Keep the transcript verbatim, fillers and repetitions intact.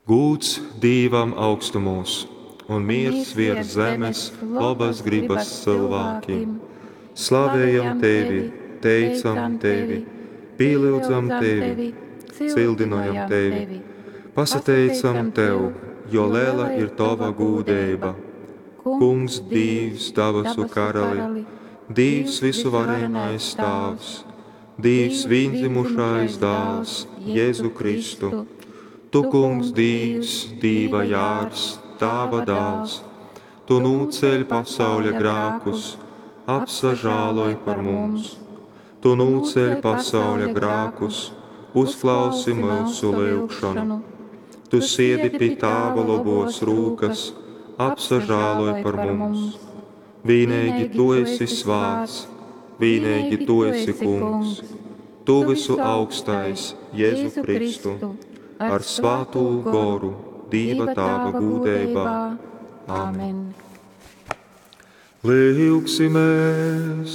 Gūds Dīvam augstumūs un miers viers zemes lobas gribas cilvēkiem. Slavējam tevi, teicam tevi, pīlyudzam tevi, cildinojam tevi, pasateicam tev, jo lela ir tova gūdeiba. Kungs, Dīvs, dabasu karali, Dīvs visuvarenais Tāvs, Dīvs vīndzimušais Dāls, Jēzu Kristu. Tu, Kungs, Dīvs, Dīva jārs, Tāva dāls, Tu nūceļ pasauļa grākus, apsažāloj par mums. Tu nūceļ pasauļa grākus, uzklausi mūsu lyugšonu. Tu siedi pi Tāva lobos rūkas, apsažāloj par mums. Vīneigi Tu esi svāts, vīneigi Tu esi Kungs, Tu visu augstais, Jēzu Kristu, ar svātū goru, Dīva Tāva gūdeibā. Amen. Lyugsimies!